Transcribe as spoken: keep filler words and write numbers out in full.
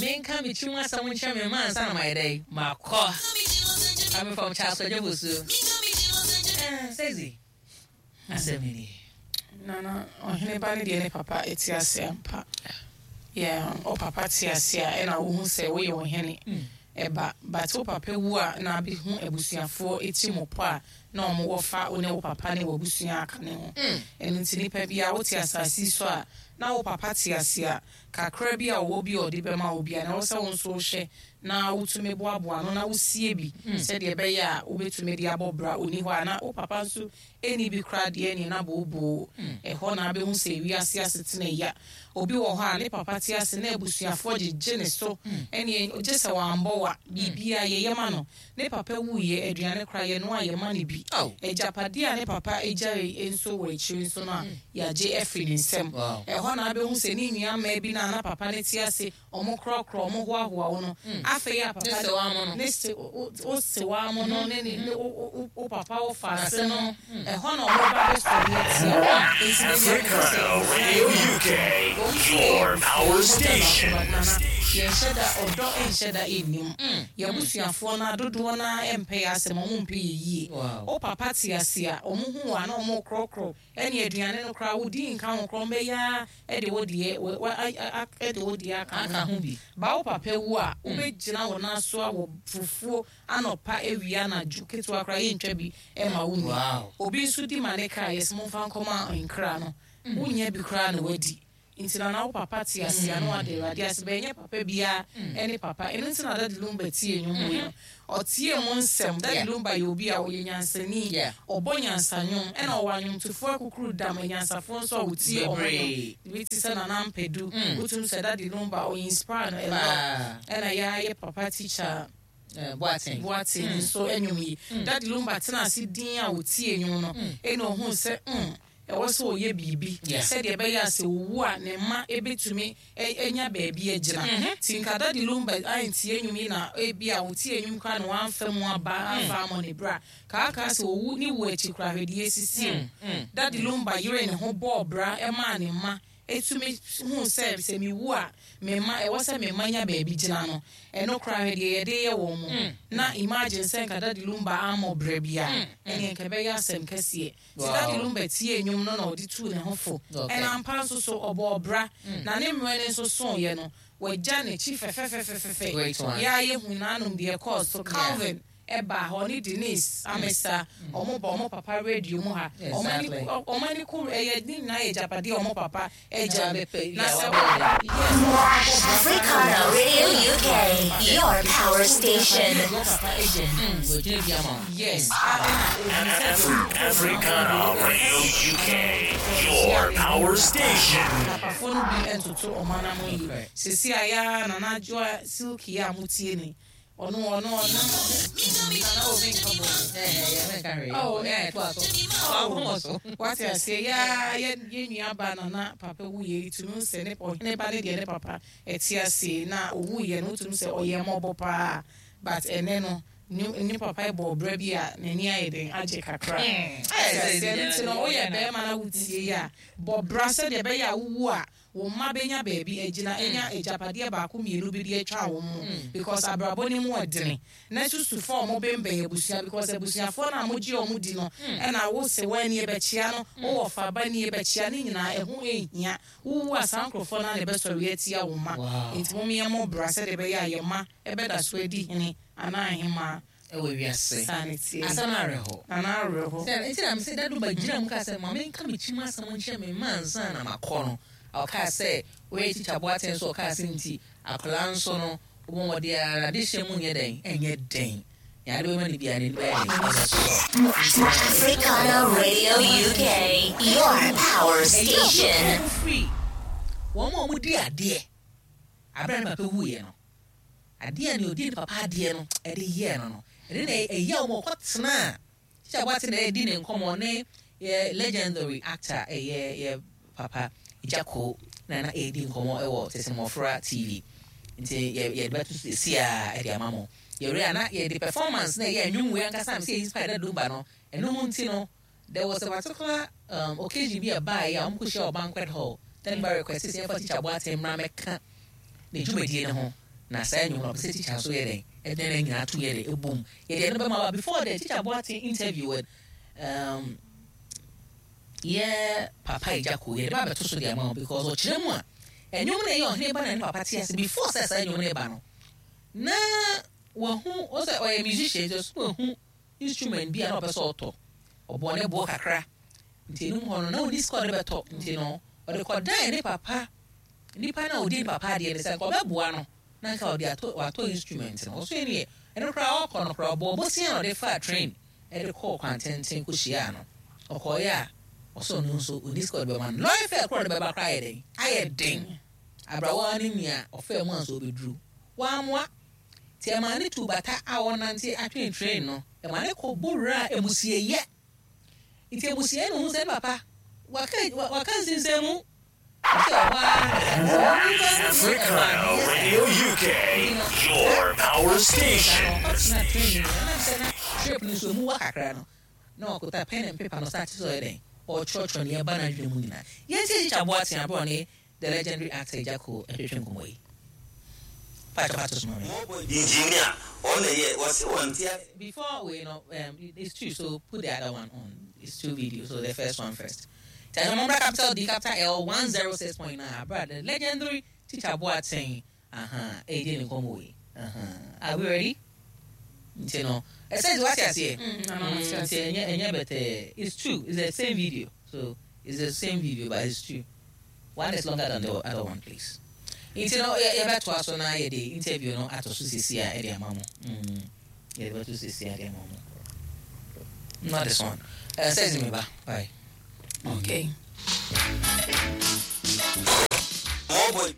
Menka me kyim asɛm nkyerɛ me mma ansa na mayɛ dɛn makɔ. Coming from Charles Kwadwo. Sexy asɛm ni. Nana, ɔhene ba ne deɛ ne papa ɛte ase ampa. Yeah, o papa te ase a, ɛna wohu sɛ woyɛ ɔhene ɛba, but wo papa wu a, na abɛhu abusuafoɔ ɛti mo pɔ a na ɔmo wɔfa wo ne wo papa ne w'abusua aka ne ho. Ɛno nti nipa bi a wote asase yi so a na wo papa te ase a, kakra bi a ɔwɔ bi a ɔde bɛma wo bi a, na ɛwɔ sɛ wo nso wohwɛ na wotumi boaboa no na wosie bi sɛdeɛ ɛbɛyɛ a wobɛtumi de abɔ bra. Ɔni hɔ a na wo papa nso ɛni bi koraa deɛ, ne na booboo ɛhɔ na abɛhu sɛ ewiase asetena ya. Obi wɔ hɔ a ne papa te ase na abusuafoɔ gyegye ne so, ɛne gye sɛ wambɔ wa biribia yɛyɛ ma no. Ne papa wuyɛ, aduane koraa yɛno a yɛma no bi. Oh. Agyapadeɛ a ne papa agyae nso wɔ akyiri nso no a yɛagye afiri ne nsam. Wow. Ɛhɔ na abɛhu sɛ ne nua mmaa bi no a na papa ne te ase, ɔmo korɔkorɔ, ɔmo hoahoa wo no, afei a papa Ne se wa mo no. Ne se wo wo se wa mo no, ne ne ne wo wo wo papa wo fa ase no, ɛhɔ na ɔmo ba bɛsɔre atia wo. Nti de bia mepɛ sɛ Africana Radio U K, your power station. Yɛnhyɛ da ɔdɔ, nhyɛ da ɛnnim yɛabusuafoɔ no adodoɔ no a ɛmpɛ yɛ asɛm, ɔmo mpɛ yɛ yie. Wow. Wo papa te ase a, ɔmo hu wɔ a na ɔmo korɔkorɔ ɛne aduane no koraa wodi nka ho korɔ mbɛyɛ ɛde wo deɛ wɔ- wɔ- a- a- a- ɛde wo deɛ aka Aka ho bi. Ba wo papa wu a, wobɛgyina wo nan so a wɔ fufuo anɔpa, awia, anadwo, ketewa koraa yɛntwa bi ɛma wo ni. Wow. Obi nso di ma ne kaa yɛsɛ momfa nkɔma nkra no, wonya bi koraa na wadi. Nti na na wo papa te ase a, na wade Awurade ase bɛnyɛ papa biara ɛne papa. Ɛno nti na Daddy Lumba tie nnwom wei no, ɔtie mu nsɛm. Daddy Yeah. Lumba yɛ obi a ɔyɛ nyansani. Yeah. Ɔbɔ nyansanwom, ɛna ɔwɔ anwomtofoɔ akukuru dam anyansafoɔ nso a wɔtie ɔmo Bebree. nnwom bi te sɛ Nana Mpɛdu. Mm. Wotum sɛ Daddy Lumba ɔyɛ inspire no ɛlɔ. Paa. Ɛna yɛayɛ papa teacher Eh, Boateng. Boateng nso nnwom yi, Daddy Lumba tena ase din a wɔtie nnwom no, ɛna ohun sɛ mm ɛwɔ sɛ ɔyɛ biribi Yeah. sɛdeɛ ɛbɛyɛ a sɛ owu a, ne mma ebɛtumi ɛ- anya baabi agyina. Nti nka Daddy Lumba antie nnwom yi na ebi a wɔtie nnwom koraa na wamfa mu aba amfa amɔ ne bra kaakaa sɛ owu ne wu akyi koraa, hwɛdeɛ esisi o. Daddy Lumba yere ne ho bɔɔ bra ɛmaa ne mma etumi hu sɛ sɛ miwu a, me mma, ɛwɔ sɛ me mma nya baabi gyina no. Ɛno koraa, hwɛ deɛ yɛde yɛ wɔn mu. Na imagine sɛ nka Daddy Lumba ammɔ brɛ bi a, ɛneɛ nka ɛbɛyɛ asɛm kɛseɛ. Nti Wow. Daddy Lumba tie nnwom no na ɔde tuu ne ho fo. Okay. Ɛna ampa nso so ɔbɔ ɔbra na ne mmerɛ no nso soeɛ no, wagya n'akyi fɛfɛfɛfɛfɛ. Great one. Yɛa yɛhu n'anom deɛ ɛkɔɔ so. Calvin ɛba hɔ ne Denise Amesa, ɔmo ba ɔmo papa radio mu ha. Ɔmo ani Exactly. ɔmo ani ko ɛyɛ ne nyinaa yɛ agyapadeɛ a ɔmo papa agya. Na bɛpɛ- Na yeah, sɛ wabɔ yes. Africana Radio U K, your power station. Ɔmo papa agya bi. Wɔgyina bi ama wo. Yes, a ɛna obi sɛ Africana Radio U K, your power station. Papafoɔ no bi ntoto ɔmo anam yi. Okay. Sisi a yɛa Nana Adwoa Silky a motie ni, ɔno ɔno ɔno Nana obi nka bɔ. Eh, eh, eh, menka hwee. Oh. Eh, toa so. Toa wo so. Wate aseɛ, yɛa yɛ yɛ nua ba Nana papa wuyɛ yi, tumi sɛ ne ɔhene ba ne deɛ ne papa ɛte aseɛ na owuyɛ no, wotumi sɛ ɔyɛ mmɔbɔ paa, but ɛnɛ no ne ne papa bɔ ɔbrɛ bi a n'ani ayɛ den agye kakra. Mm. Wate aseɛ no, nti no woyɛ bɛrima na wotie yi a, bɔ bra sɛdeɛ ɛbɛyɛ a wowu a, wo mma bɛnya baabi agyina, ɛnya agyapadeɛ baako mmienu bi de atwa wɔn mu, because abrabɔ ne mu ɛdene. Na susufoɔ a wɔn bɛnbɛn abusua, because abusuafoɔ no a mogye wɔn di no, ɛna wo sɛ wɔn ani bɛkyia no, wowɔ faba ni bɛkyia ne nyinaa, ɛho ehia. Wowu a, saa nkurɔfoɔ no a na ɛbɛsɔre atia wo mma. Wow. Nti mo yɛ mo bra sɛdeɛ ɛbɛyɛ a yɛ mma ɛbɛda so adi hene anaa ahemmaa. Ɛwɔ wiase. Saa ne tie. Asɛm no awerɛhɔ. Nana, awerɛhɔ. Sɛ nti na mesɛ Daddy Lumba gyina mu ka sɛ ma menka me kyim asɛm nkyerɛ me mma ansa na makɔ no. Ɔkaa sɛ woyɛ teacher Boateng so, ɔkaa sɛ nti akwadaa nso no, wobɔ mmɔden ara de hyɛ mu nyɛ dɛn, ɛnyɛ dɛn yɛade bɛma no biara n'ani bɛyɛ dɛn, ɛbɛsɔ. Africana Radio U K, your power station. Ɛyɛ firi wɔn a wɔdi adeɛ abɛrɛ ne papa wuiɛ no, adeɛ a ne odi ne papa adeɛ no ɛde yɛɛ no no ɛde na ɛyɛ wɔn ɔkɔtena a teacher Boateng na ɛdi ne nkɔmɔ ne yɛ legendary actor, ɛyɛ yɛ papa Gyako na na ɛdi nkɔmɔ ɛwɔ Tete Mmɔfra T V. Nti yɛ yɛde bɛto so esi a ɛde ama mo yɛwura a na yɛde performance na ɛyɛ nnwom wei ankasa mi sɛ inspire Daddy Lumba no. Ɛno ho nti no, there was a particular um, occasion bi a baeɛ a wɔn kɔ hyia wɔ banquet hall. Then ba request sɛ yɛmfa teacher Boateng mmra mɛka ne dwumadie no ho. Na saa nnwom no, ɔpɛ sɛ Tikya nso yɛ dɛn, ɛdɛn na nyinaa to yɛ dɛ ɛbom. Yɛde ɛno bɛma wa. Before the Tikya Boateng interview with um, yɛ papa Agya Koo, yɛde ba bɛto so de ama wo, because ɔkyerɛ mu a, ɛnwom no ɛyɛ ɔhene ba na ne papa te ase. Before sɛ saa nnwom no ba no, na wahu ɔsɛ ɔyɛ musician, nti ɔso wahu instrument bi a na ɔpɛ sɛ ɔtɔ. Ɔbɔ ne boɔ kakra, nti enum hɔ no na ɔni sika ɔde bɛtɔ, nti no ɔde kɔdan ne papa, nipa na ɔdi ne papa adeɛ no, sɛ nka ɔbɛboa no na nka ɔde atɔ, watɔ instrument no. Ɔso yɛ ne ɛno koraa ɔkɔ no koraa, ɔbɔ ɔbɔsia na ɔde fa train ɛde kɔɔ kwantenten kɔhyia no. Ɔkɔɔyɛ a, ɔsɔ no nso ɔni sika ɔde bɛma no. Lorry fare koraa ɔde bɛba koraa ayɛ den, ayɛ den. Abrawa ne nea ɔfɛ mu a nso ɔbɛduru wamoa, nti ɛma ne tu bata a ɔnante atwene train no, ɛma ne kɔ bɔwura a emusieyɛ. Nti emusieyɛ no ho sɛ ne papa waka waka nsinsɛn mu, nti ɔhɔ ara. Africana Radio U K, your power station. Ɔtena train no mu, ɛnam sɛ na trip no nso emu wa kakra no, na ɔkuta pen and paper no, start sɛ ɔyɛ dɛn, ɔtwerɛtwerɛ nea ɛba n'adwene mu nyinaa. Yɛntie Tikya Boateng aborɔ ne the legendary actor Agya Koo ɛhwehwɛ nkɔmmɔ yi. Paatwa pato so ma me. Engineer ɔna yɛ wɔsi wɔn ti ase. Before we know, um, it's two, so put the other one on. It's two videos, so the first one first. Tell capital D capital L one zero six point nine. Brother, the legendary Teacher Boateng. Uh-huh. Hey, didn't come away. Uh-huh. Are we ready? You know, I said what I say. Mm, but it's true. It's the same video. So it's the same video, but it's true. One is longer than the other one, please. Nti no, yɛbɛtoa so na yɛde interview no ato so sisi a ɛde ama mo. Yɛde bɛto sisi a ɛde ama mo. Not this one. Uh, says me ba. Bye. Okay. Mɔbɔ.